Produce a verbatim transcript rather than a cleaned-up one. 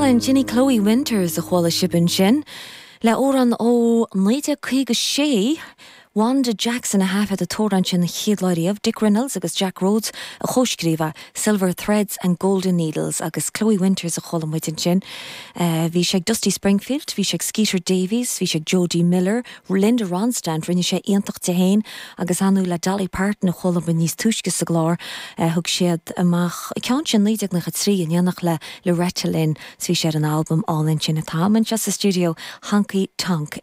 Álainn sin í Chloe Winters a chuala sibh ansin. Le amhrán ó naoi déag caoga sé, Wanda Jackson a thaifead an t-amhrán sin chéad lá riamh, Dick Reynolds agus Jack Rhodes a chomhscríobh Silver Threads and Golden Needles agus Chloe Winters a chuala muid ansin. Uh, bhí sé ag Dusty Springfield, bhí sé ag Skeeter Davies, bhí sé ag Jody Miller, Linda Ronstadt rinne sé iontach de féin agus anú le Dolly Parton a chuala muid níos túisce sa gclár uh, thug siad amach ceann sin naoi déag nócha trí in éineacht le Loretta Lynn bhí sé ar an albam álainn sin atá anseo sa studio Honky Tonk